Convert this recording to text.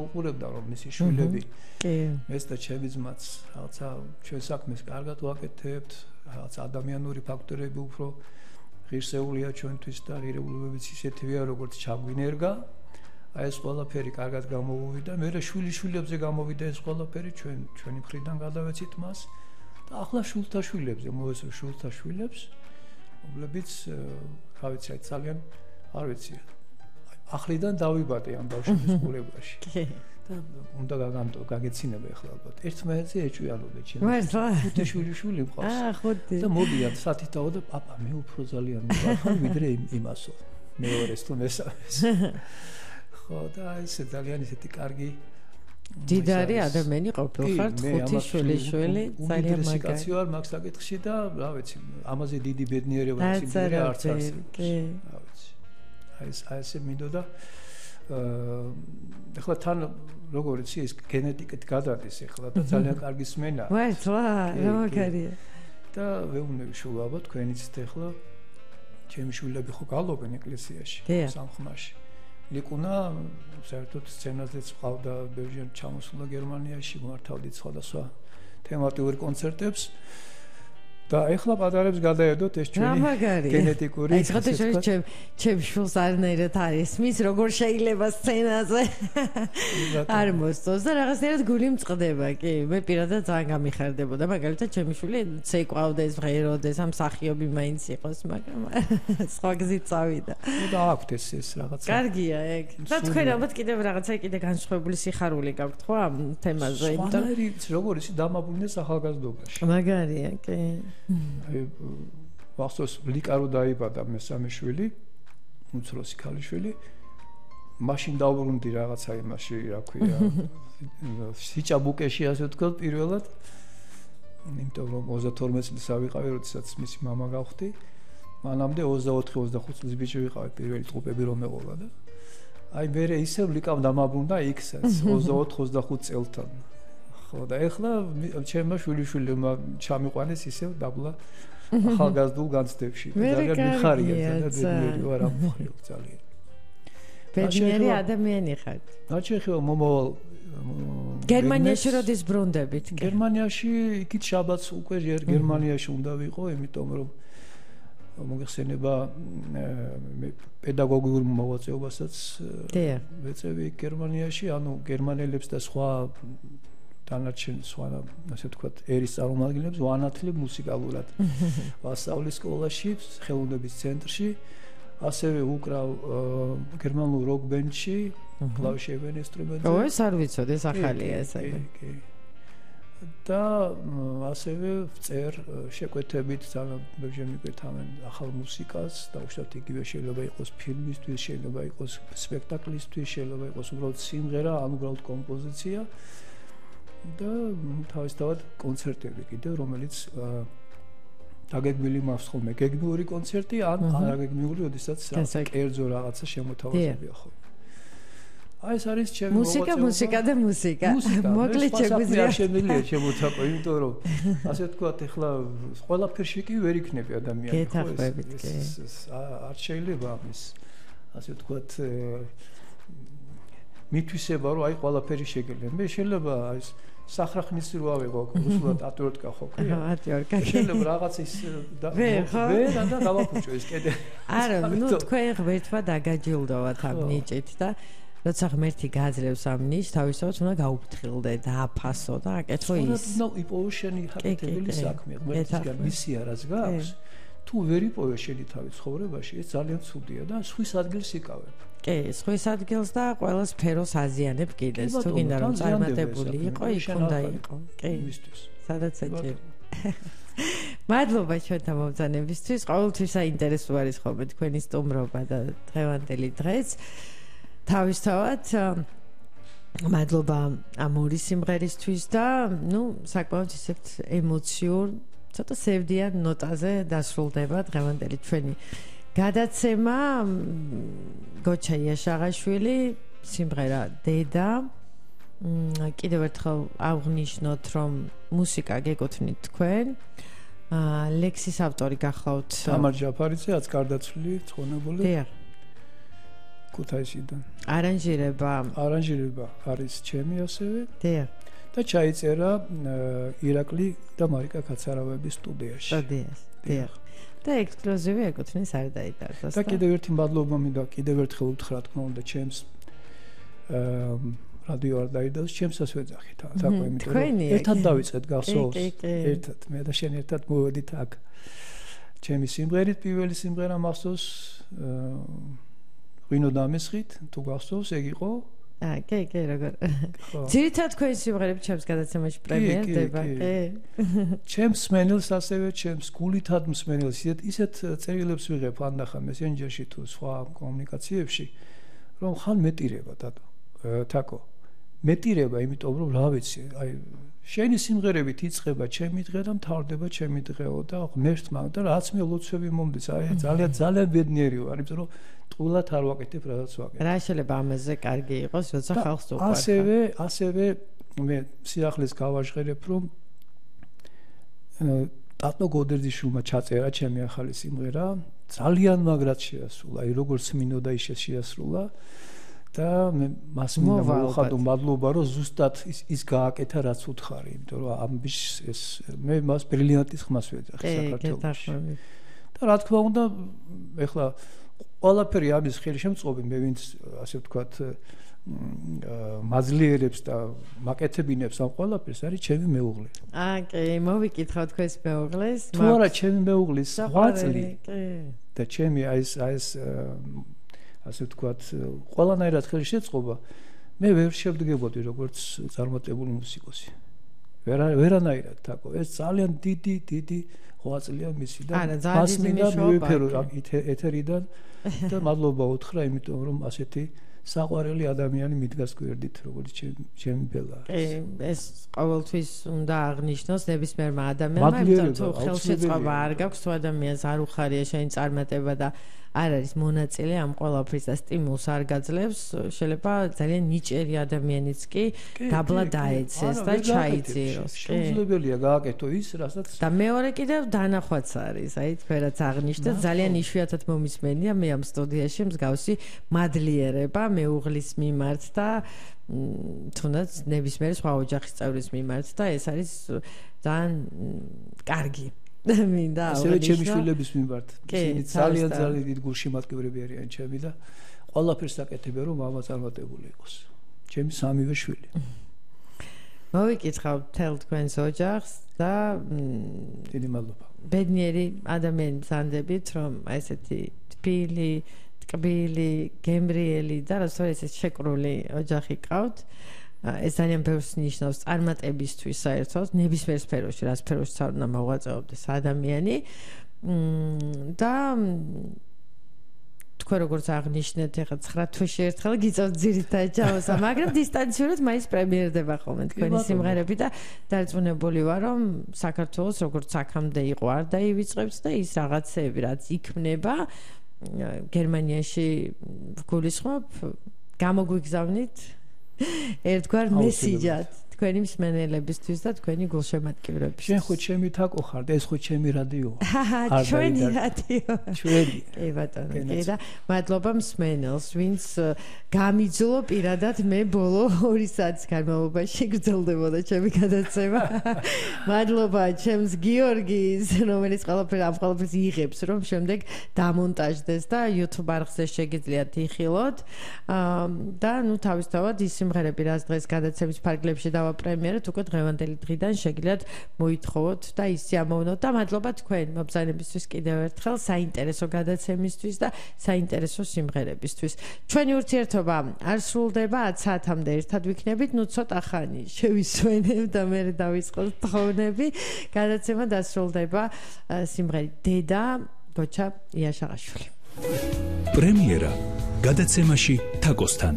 უყურებდა რომ მისი შვილები ეს და ჩემი ძმაც რაღაცა ჩვენ საქმეს კარგად ვაკეთებთ, რაღაც ადამიანური ფაქტორები უფრო ღირსეულია ჩვენთვის და ღირებულებებიც ისეთივეა როგორც ჩაგვინერგა. აი ეს ყველაფერი კარგად გამოვიდა. მე შვილიშვილებზე გამოვიდა ეს ყველაფერი ჩვენი მხრიდან გადავეცით მას და ახლა შვილთა შვილებზე მოესწრო შვილთა შვილებს, რომლებიც რა ვიცი, ძალიან არ ვიცი. ახლიდან დავიბადე ამ ბავშვების ყურებაში. და უნდა გაგეცინება ახლა ალბათ. ერთმანეთზე ეჭვიანობენ ჩემს. ხუთი შვილიშვილი მყავს. და მოდიან სათითაო და პაპა მე უფრო ძალიან მიყავს ვიდრე იმასო. მეორეს თუ მესამეს. ხო და ესე ძალიან ისეთი კარგი დიდარი ადამიანი ყოფილხართ, ხუთი შვილიშვილი, ძალიან მაგარი ვარ მაგ საკითხში და რა ვიცი, ამაზე დიდი ბედნიერება სიმღერა არც არსებობს. რა ვიცი. აი ესე მინდოდა ახლა თან როგორ იცი ეს გენეტიკით გადადის ახლა და ძალიან კარგი სმენა. მართლა, რა მაგარია. და ვეუბნები შულაბა თქვენიც ახლა ჩემი შვილები ხო გალობენ ეკლესიაში, სამხმაში. ლიკუნა საერთოდ სცენაზეც ყავდა ბევრი ჩამოსულა გერმანიაში, მართავდით სხვადასხვა თემატიურ კონცერტებს. და ეხლა პატარებს გადაედოთ ეს ჩვენი გენეტიკური. აი ხოთეშ ჩემ შულს არნაირად არის მის როგორ შეიძლება სცენაზე არ მოსწონს და რაღაცნაირად გული მწყდება კი მე პირადად ძალიან გამიხარდებოდა მაგალითად ჩემი შვილი ცეკვავდეს ღეროდეს ამ სახიობი მაინც იყოს მაგრამ სხვა გზით წავიდა და აქვთ ეს რაღაცა კარგია ეგ და თქვენ ალბათ კიდევ რაღაცა კიდე განსხვავებული სიხარული გაქვთ ხო ამ თემაზე იმიტომ როგორ ისი დამაბუნდეს ახალგაზრდობაში მაგარია კი აი ვახსოვს ლიკარო დაიბადა მესამე შვილი უმცროსი ქალიშვილი მაშინ დავბრუნდი რაღაცა იმაში რა ქვია სიჭაბუკეში ასე ვთქვათ პირველად იმიტომ რომ 32 წლის ავიყავი როდესაც მისი მამა გავხდი მანამდე 24-25 წლის ბიჭი ვიყავი პირველი ტყუპები რომ მეყოლა და აი მე ისევ ლიკავ დამაბრუნდა იქსაც 24-25 წელთან ხო და ეხლა ჩემმა შვილიშვილებმა ჩამიყვანეს ისევ დაბლა ახალგაზრდულ განცდებში ძალიან მიხარია ძალიან ვარ ამ მხრივ ძალიან ბედნიერი ადამიანი ხართ რა შეიძლება მომავალ გერმანიაში როდის ბრუნდებით გერმანიაში იქით შაბათს უკვე გერმანიაში უნდა ვიყო იმიტომ რომ მოგეხსენება პედაგოგიურ მოღვაწეობასაც ვეწევი გერმანიაში ანუ გერმანელებს და სხვა დანარჩენ სხვა ასე ვთქვათ ერის წარმომადგენლებს ვანათლებ მუსიკალურად ვასწავლი სკოლაში ხელოვნების ცენტრში ასევე უკრავ გერმანულ როკ ბენდში კლავიშებიან ინსტრუმენტზე ო ეს არ ვიცოდი ეს ახალია ესე კი და ასევე წერ შეკვეთებით ძალიან ბევრი მიკვეთავენ ახალ მუსიკას და უშუალოდ იგივე შეიძლება იყოს ფილმისთვის შეიძლება იყოს სპექტაკლისთვის შეიძლება იყოს უბრალოდ სიმღერა ან უბრალოდ კომპოზიცია და თავისთავად კონცერტები კიდევ რომელიც დაგეგმილი მაქვს ხოლმე გეგმიური კონცერტი ან არაგეგმიური როდესაც კერძო რაღაცა შემოთავაზებია ხოლმე აი ეს არის ჩემი მუსიკა და მუსიკა მოკლედ შეგვიძლია შემიძლია შემოთაყო იმიტომ რომ ასე ვთქვათ ეხლა ყველაფერში კი ვერ იქნება ადამიანი გეთახმებით კი არ შეიძლება ამის ასე ვთქვათ მითვისება რომ აი ყველაფერი შეგიძლია მე შეიძლება აი სახრახნის რო ავიღო რუსულად ატვირტკა ხო კი ატვირტკა შეიძლება რაღაც ის ვერ და გავაფუჭო ეს კიდე არა ნუ თქვენ ღმერთმა დაგაჯილდოვათ ამ ნიჭით და როცა ღმერთი გაძლევს ამ ნიშს თავისთავად უნდა გაუფრთხილდე და აფასო და აკეთო ის ნუ იპოვო შენი ხარჯები საქმე ღმერთისგან მისია რაც გაქვს თუ ვერ იპოვე შენი თავის ცხოვრებაში ეს ძალიან ცუდია და სხვის ადგილს იკავებ კი სხვის ადგილს და ყველა სფეროს აზიანებ კიდეს თუ გინდა რომ წარმატებული იყო იქ უნდა იყო კი იმისთვის სადაც ეჭირ მადლობა ჩვენთან მომბრძანებისთვის ყოველთვის საინტერესო არის ხოლმე თქვენი სტუმრობა და დღევანდელი დღეც თავისთავად მადლობა ამ ორი სიმღერისთვის და ნუ საკმაოდ ისეთ ემოციურ ცოტა სევდიან ნოტაზე დასრულდება დღევანდელი ჩვენი გადაცემა გოჩა იაშაღაშვილი სიმღერა დედა კიდევ ერთხელ აღნიშნოთ რომ მუსიკა გეკუთვნით თქვენ ლექსის ავტორი გახლავთ თამარ ჯაფარიძე რაც გარდაცვლილი ცხონებული დიახ ქუთაისიდან. არანჟირება არის ჩემი ასევე. დიახ. და ჩაიწერა ირაკლი და მარიკა კაცარავების სტუდიაში. დიახ. და ექსკლუზივი ეკუთვნის არ დაიტარდეს. და კიდევ ერთი მადლობა მინდა კიდევ ერთხელ უთხრა რა თქმა უნდა ჩემს რადიო არ დაიდოს ჩემსაც ვეძახით თაკო იმიტომ რომ ერთად დავიწყეთ გახსოვს ერთად მე და შენ ერთად მოვედით აქ ჩემი სიმღერით პირველი სიმღერა მახსოვს ღვინო დამესხით თუ გახსოვს ეგ იყო კი როგორ ძირითადად თქვენი სიმღერები ჩემს გადაცემაში პრემიერდება ჩემს მსმენელს ასევე ჩემს გულითად მსმენელს ისეთ წერილებს ვიღებ ანახა მესენჯერში თუ სხვა კომუნიკაციებში რომ ხან მეტირება დადო თაკო მეტირება იმიტომ რომ რა ვიცი აი შენი სიმღერებით იწყება ჩემი დღე და მთავრდება ჩემი დღეო და ღმერთმა და რაც მე ლოცვები მომდის აი ძალიან ბედნიერი ვარ იმიტომ რომ ტყუილად არ ვაკეთებ რასაც ვაკეთებ რა შეიძლება ამაზე კარგი იყოს როცა ხალხს უყვარს ასევე მე სიახლეს გავაჟღერებ რომ ტატო გოდერძიშვილმა ჩაწერა ჩემი ახალი სიმღერა ძალიან მაგრად შეასრულა აი როგორც მინოდა ისე შეასრულა და მე მას მინდა მოვხადო მადლობა რომ ზუსტად ის გააკეთა რაც უთხარი იმიტომ რომ ამბის ეს მე მას ბრილიანტის ხმას ვეძახი საქართველოში და რა თქმა უნდა ეხლა ყველაფერი ამის ხელი შემწყობი მე ვინც ასე ვთქვათ მაძლიერებს და მაკეთებინებს ამ ყველაფერს არის ჩემი მეუღლე კი მოვიკითხავ თქვენს მეუღლეს თუ არა ჩემი მეუღლის ღვაწლი და ჩემი აი ეს ასე ვთქვათ ყველანაირად ხელი შეწყობა მე ვერ შევდგებოდი როგორც წარმატებული მუსიკოსი ვერანაირად თაკო ეს ძალიან დიდი ღვაწლია მისი და მას მინდა მივიფერო ეთერიდან და მადლობა უთხრა იმიტომ რომ ასეთი საყვარელი ადამიანი მიდგას გვერდით როგორც ჩემი ბელა ეს ყოველთვის უნდა აღნიშნოს ნებისმიერმა ადამიანმა იმიტომ თუ ხელშეწყობა არ გაქვს თუ ადამიანს არ უხარია შენი წარმატება და არ არის მონაწილე ამ ყველაფრის და სტიმულს არ გაძლევს შეიძლება ძალიან ნიჭიერი ადამიანიც კი დაბლა დაეცეს და ჩაიძიროს შეუძლებელია გააკეთო ის რასაც და მეორე კიდევ დანახვაც არის აი თქვენაც აღნიშნეთ ძალიან იშვიათად მომისმენია მე ამ სტუდიაში მსგავსი მადლიერება მეუღლის მიმართ და თუნდაც ნებისმიერი სხვა ოჯახის წევრის მიმართ და ეს არის ძალიან კარგი მინდა ასევე ჩემი შვილების მიმართ ისინი ძალიან დიდ გულშემატკივრები არიან ჩემი და ყველაფერს აკეთებენ რომ მამა წარმატებული იყოს ჩემი სამივე შვილი მოვიკითხავ თელ თქვენს ოჯახს და დიდი მადლობა ბედნიერი ადამიანი მზანდებით რომ ესეთი თბილი ტკბილი გემრიელი და რასაც ეს შეკრული ოჯახი ყავთ ეს ძალიან ბევრს ნიშნავს წარმატებისთვის საერთოდ ნებისმიერ სფეროში რა სფეროში უნდა მოღვაწეობდეს ადამიანი და თქვენ როგორც აღნიშნეთ ეხლა 9 თვეში ერთხელ გიწევთ ძირითადად ჩავოსა მაგრამ დისტანციურად მაინც პრემიერდება ხოლმე თქვენი სიმღერები და დარწმუნებული ვარ რომ საქართველოს როგორც აქამდე იყო არ დაივიწყებთ და ის რაღაცები რაც იქმნება გერმანიაში გულისხმობ გამოგვიგზავნით ერთგვარ მესიჯად თქვენი მსმენელებისთვის და თქვენი გულშემატკივრებისთვის. შენ ხო ჩემი თაკო ხარ და ეს ხო ჩემი რადიო. ჩვენი რადიო. ჩვენი. კი ბატონო, კი და მადლობა მსმენელს, ვინც გამიძულო პირადად მე ბოლო 2 საათის განმავლობაში გრძელდებოდა ჩემი გადაცემა. მადლობა ჩემს გიორგის, რომელიც ყველაფერს იღებს, რომ შემდეგ დამონტაჟდეს და YouTube არხზე შეგიძლიათ იხილოთ. და ნუ თავისთავად ის სიმღერები, რაც დღეს გადაცემის ფარგლებში პრემიერად უკვე დღევანდელი დღიდან შეგიძლიათ მოითხოვოთ და ისე ამოვნოთ და მადლობა თქვენ მობრძანებისთვის კიდევ ერთხელ საინტერესო გადაცემისთვის და საინტერესო სიმღერებისთვის. ჩვენი ურთიერთობა არ სრულდება 10 საათამდე ერთად ვიქნებით, ნუ ცოტა ხანი შევისვენებ და მე დავიწყოთ თხოვნები. გადაცემა დასრულდება სიმღერით დედა გოჩა იაშაღაშვილი. პრემიერა გადაცემაში თაკოსთან